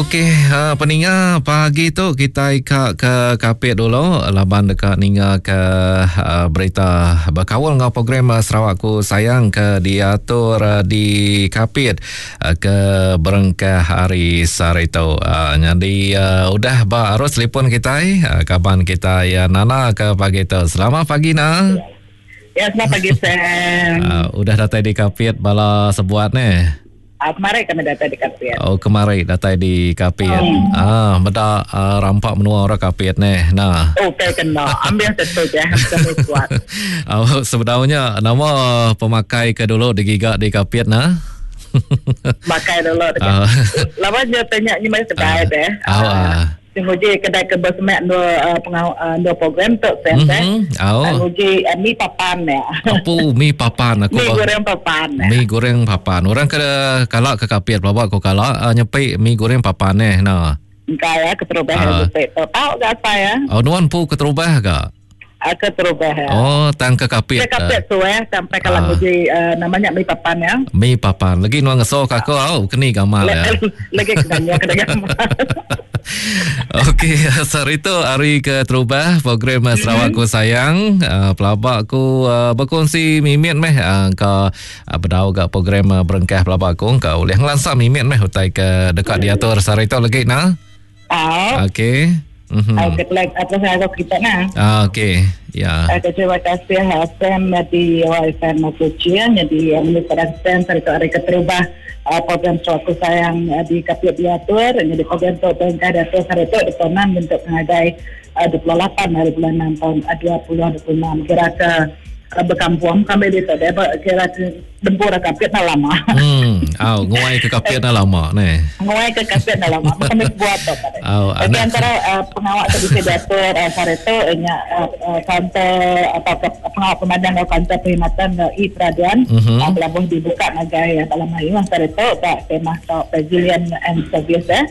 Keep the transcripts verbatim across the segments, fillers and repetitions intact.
Okey, uh, peninga pagi tu kita ka ke Kapit dulu laban deka ninga ke uh, berita berkaul dengan program uh, Sarawakku Sayang ke diatur uh, di Kapit uh, ke berengkah hari sehari tu. Uh, jadi uh, udah ba arus telefon kita uh, kaban kita ya Nana ke pagi tu. Selamat pagi Na. Ya, selamat pagi Sam. Uh, udah datai di Kapit bala sebuat ne. Ah, kemarin kami datai di Kapit. Oh, kemarin datai di Kapit. Hmm. Ah, meda uh, rampak menua orang Kapit ne. Nah. Oh, okay, kena. Ambil tentu je kami buat. Oh, sebenarnya nama pemakai ke dulu digiga di Kapit nah. Makai dulu. Uh. Lama dia tanya ni mai kedai uh. deh. Oh, uh. Nguji kedai ke bersemak dua uh, pengau, uh, dua program tu sen mm-hmm. Oh. Nguji uh, mi papan ya. Apa mi papan aku? Mi goreng papan. Mi goreng papan. Orang ke kalak ke Kapit pelabak ko kalak uh, nyepi mi goreng papan eh nah. Engkau ya keterubah uh. tu. Tahu gak saya? Oh, nuan pu keterubah gak? Ke terubah ya. Oh, tang ke Kapit. Ke Kapit tu eh sampai kalau uh. nguji uh, namanya mi papan ya. Mi papan. Lagi nuan ngeso ka aku au keni gamal ya. Lagi kena kena gamal. Okey, sehari tu hari ke terubah program Sarawakku Sayang. Uh, pelabak aku uh, berkongsi mimit meh uh, ke uh, bedau gak program uh, berengkah pelabak aku ke boleh ngelansa mimit meh utai ke dekat diatur sehari tu lagi nah. Ah. Okey. Mm-hmm. Okey, uh, atas saya kita nah. Ah, okey. Ya. Okay, terima kasih Sam di W F M Kuching jadi Minister Sam sehari tu hari keterubah uh, program Sarawakku Sayang uh, di Kapit diatur jadi program tu bengkah diatur sehari tu diponan untuk mengagai uh, dua puluh lapan hari bulan enam tahun uh, dua ribu dua puluh enam kira ke uh, berkampung kami di tu kira ke dempur Kapit dah lama. Hmm, au nguai ke Kapit dah lama ne. Nguai ke Kapit dah lama. Kami buat tu. Au, tapi antara uh, pengawal tu bisa diatur uh, sehari tu nya uh, uh, kantor atau pengawal pemadam atau kantor perkhidmatan uh, e-peraduan mm-hmm. uh, pelabuh dibuka ngagai dalam hari sehari tu tak tema tok Pavilion and Service eh.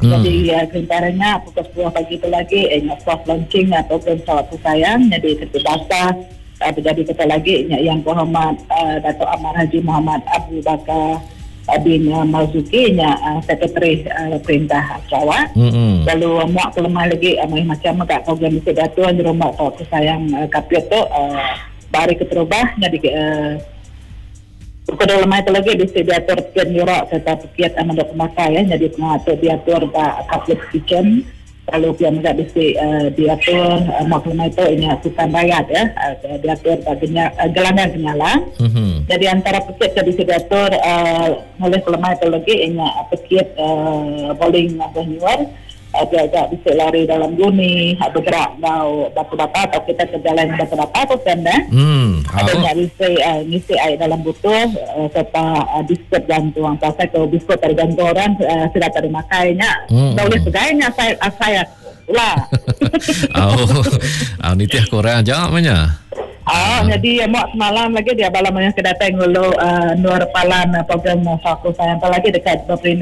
Hmm. Jadi uh, kelintarannya pukul sepuluh pagi itu lagi eh soft launching uh, program Sarawakku Sayang jadi ketua Uh, terjadi kata lagi yang Muhammad uh, Dato' Amar Haji Muhammad Abu Bakar uh, bin uh, Marzuki nya uh, Sekretari uh, Perintah Sarawak. Mm-hmm. Lalu uh, muak kelemah lagi uh, macam kat program mesti datuk di rumah Sarawakku Sayang uh, Kapit tu uh, bari keterubah jadi uh, pukul dua lemah itu lagi bisa diatur piat nyurak serta piat amandok pemakai ya jadi pengatur diatur ba Kapit Kitchen. Lalu pihak mereka bisa uh, diatur uh, maklumat itu ini sukan rakyat ya uh, diatur baginya uh, gelanggang kenyalang. Mm-hmm. Jadi antara pekit yang bisa diatur uh, oleh kelemahan itu lagi ini pekit uh, bowling atau nyuar uh, dia agak bisa lari dalam guni bergerak bau batu-bata atau kita ke jalan batu-bata atau senda. Mm. Ada yang bisa uh, ngisi air dalam butuh uh, serta uh, biskut gantung. Pasal kalau biskut dari gantung orang uh, sudah tak dimakainya. Mm. Tak boleh pegainya saya saya lah. Oh, oh nitih korang aja maknanya. Ah, oh, jadi mak semalam lagi dia bala banyak kedatang ngulu uh, Nur Palan uh, program Sarawakku Sayang lagi dekat berperintah